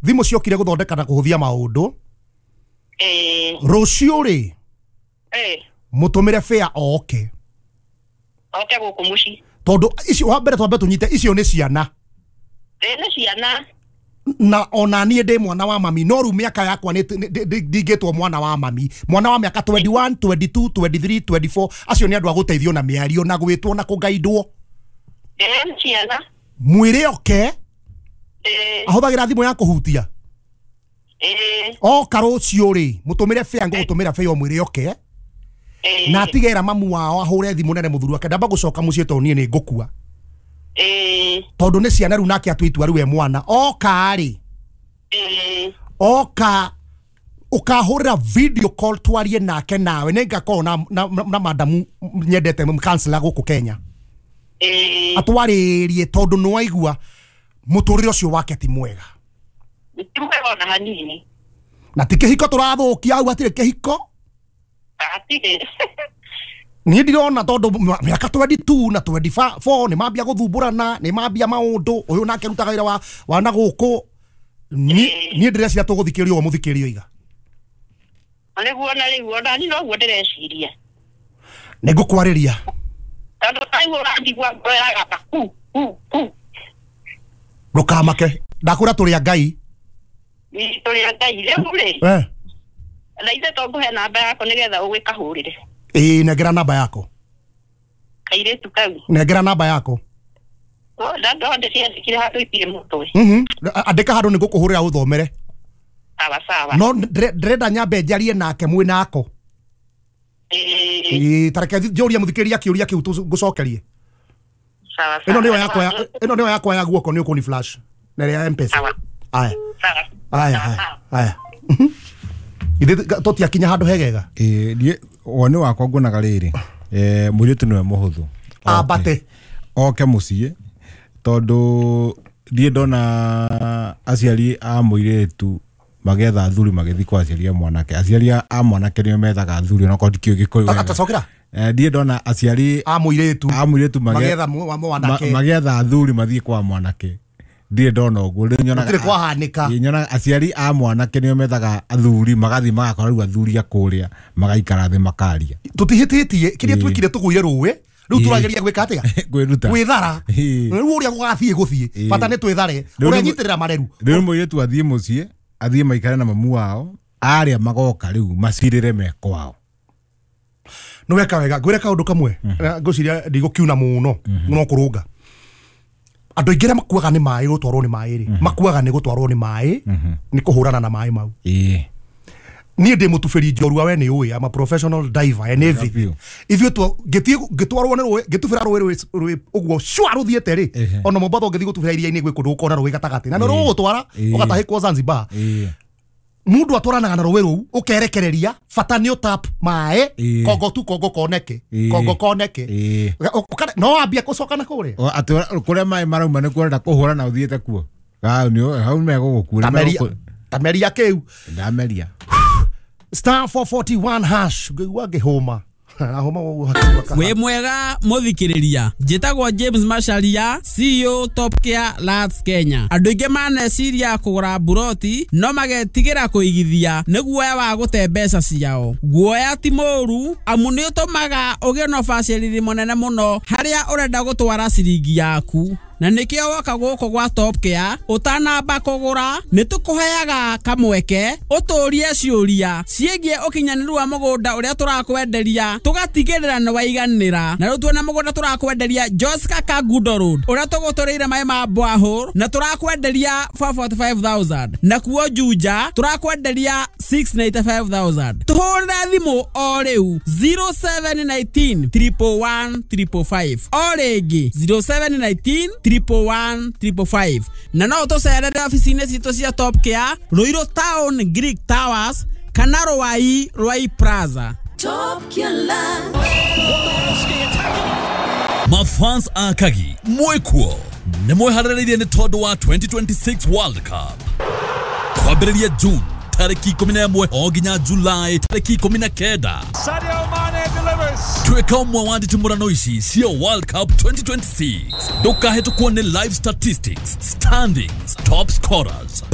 Thimũ ciokire gũthondeka na kũhũthia maũndũ. Rũciũ rĩ, mũtũmĩre fare oke. Oke gũkũ mũciĩ. Tondũ icio wa mbere twambe tũnyite icio nĩ ciana. Nĩ ciana. Na ona niĩ ndĩ mwana wa mami no rĩu mĩaka yakwa nĩ ndingĩtwo mwana wa mami. Mwana wa mĩaka 21, 22, 23, 24 acio nĩ andũ a gũteithio na mĩario na gwĩtwo na kũgaidwo. Nĩ ciana. Mwĩre oke. Ahũthagĩra thimũ ya kũhutia. Oka rũciũ rĩ, mũtũmĩre fare ngũgũtũmĩra fare ũmwĩre oke. Na atigera mamu wao ahũre thimũ nene mũthuri wake ndamba gũcoka mũciĩ tondũ niĩ nĩ ngũkua. Tondũ nĩ ciana rĩu nake atue itua rĩu e mwana. Oka rĩ, oka ũkahũrĩra video call twarie nake nawe nĩ ngakorwo na madamu nyendete counselor gũkũ Kenya. Atwarĩrie tondũ nĩ waigua mũtũrĩre ũcio wake ti mwega. Ti mwega ona hanini. Na ti kĩhiko tũrathũkia hau hatirĩ kĩhiko. Hatirĩ. Niĩ ndirona tondũ mĩaka 22 na 24 nĩ mambia gũthumbũrana, nĩ mambia maũndũ, ũyũ nake arutaga wĩra wa na gũkũ. Niĩ ndĩreciria tũgũthikĩrĩrio ũguo mũthikĩrĩrio iga. Nĩguo na rĩu ona niĩ noguo ndĩreciria. Nĩ ngũkwarĩria. Tondũ taiguo ũranjigua ngoro ĩragamba ku ku ku. Ndũkamake, ndakwĩra tũrĩ a Ngai. Tũrĩ a Ngai rĩu rĩ. Na ithe to ngũhe namba yako nĩgetha ũgĩkahũrĩre. Ĩĩ nengera namba yako. Kairĩtu kau. Nengera namba yako. Ndo ndĩciandĩkire handũ itirĩ mũtwe. Andĩka handũ nĩngũkũhũrĩra ũthomere. Sawa sawa. No ndĩrenda nyambe njarie nake mwĩ nako. Ĩĩ ta reke njũrie mũthikĩrĩria kĩũria kĩu ngũcokerie. Sawa sawa. Ĩno nĩyo yakwa ya guoko nĩ ũkũni flash na ĩrĩa ya M-Pesa. Aya. Aya aya. Ithe tũtiakinya handũ hegega. Ĩĩ woni wakwa nguonaga rĩrĩ, mũirĩtu nĩwe mũhũthũ. Ambate. Oke mũciĩ tondũ ndiĩ ndona aciari a mũirĩtu magetha athuri magĩthiĩ kwa aciari a mwanake. Aciari a mwanake nĩo methaga athuri onakorwo ndikĩũĩ Gĩkũyũ wega. Atacokera? Ndiĩ ndona aciari a mũirĩtu magetha mwanake magetha athuri mathiĩ kwa mwanake. Ndiĩ ndona ũguo. Rĩu nyonaga gũtirĩ kwahanĩka. Nyonaga aciari a mwanake nĩo methaga athuri magathiĩ magakora rĩu athuri a kũrĩa magaikara thĩ makaria. Tũtihĩtĩtie kĩrĩa twĩkire tũgũire rũĩ rĩu tũrageria gwĩka atĩa? Kwĩruta. Gwĩthara. Rĩu ũrĩa gũgathiĩ gũthiĩ bata nĩ twĩthare. Ũranyitĩrĩra mareru. Rĩu mũirĩtu athiĩ mũciĩ athiĩ maikare na mamu wao arĩa magoka rĩu macirĩre me kwao. Nĩ weka wega. Ngwĩre kaũndũ kamwe ngwĩciria ndigũkiuna mũno no kũrũnga. Andũ aingĩ arĩa makuaga nĩ maĩ gũtwarwo nĩ maĩ rĩ, makuaga nĩ gũtwarwo nĩ maĩ nĩ kũhũrana na maĩ mau. Niĩ ndĩ mũtubĩri njorua we nĩ ũĩ, I'm a professional diver and everything. Ithuĩ ngĩtwarwo nĩ rũĩ, ngĩtubĩra rũĩ rũĩ ũguo cua rũthiĩte rĩ, ona Mombatha ũngĩthiĩ gũtubĩra iria-inĩ gwĩ kũndũ ũkona rũĩ gatagatĩ na nĩ rũgũgũtwara ũgatahĩkwo Zanzibar. Mũndũ atwaranaga na rũĩ rũu ũkerekereria bata nĩ ũtap maĩ kongo tu kongo koneke kongo koneke no wambia gũcoka na kũrĩa atĩ kũrĩa maĩ marauma nĩkuo ũrenda kũhũra na ũthiĩte kuo hau megũgũkuĩra tameria kĩu ndameria. Star 441 hash ngĩigua ngĩhũma. Wĩ mwega mũthikĩrĩria, njĩtagwo James Macharia, CEO Top Care Lands Kenya. Andũ aingĩ maneciria kũgũra mburoti no magetigĩra kũigithia nĩ guoya wa gũte mbeca ciao. Guoya ti mũũru amu nĩ ũtũmaga ũgĩe na ũbacĩrĩri mũnene mũno harĩa ũrenda gũtwara ciringi yaku. Na nĩkĩo woka gũkũ gwa Top Care ũtanamba kũgũra nĩ tũkũheaga kamweke ũtũrie ciũria ciĩgiĩ ũkinyanĩru wa mũgũnda ũrĩa tũrakwenderia tũgatigĩrĩra nĩ waiganĩra. Na rĩu tuona mũgũnda tũrakwenderia Joska Kangundo Road ũrĩa tũgũtũrĩire maĩ ma borehole na tũrakwenderia 445,000, nakuo Juja tũrakwenderia 695,000. Tũhũrĩre thimũ o rĩu 0719 111 555 o rĩngĩ 0719 111 555. Na no tũcerere ofici-inĩ citũ cia Top Care Ruiru Town Greek Towers kana Ruai Ruai Plaza. Top Care Land. Mafans akagi mwekuo nĩ mwĩharĩrĩirie nĩ tondũ wa 2026 World Cup kwambĩrĩria June tarĩki 11 o nginya July tarĩki 19. Sadio Mane delivers. Tuĩka ũmwe wa nditimũrano ici cia World Cup 2026. Ndũkahĩtũkwo nĩ live statistics, standings, top scorers,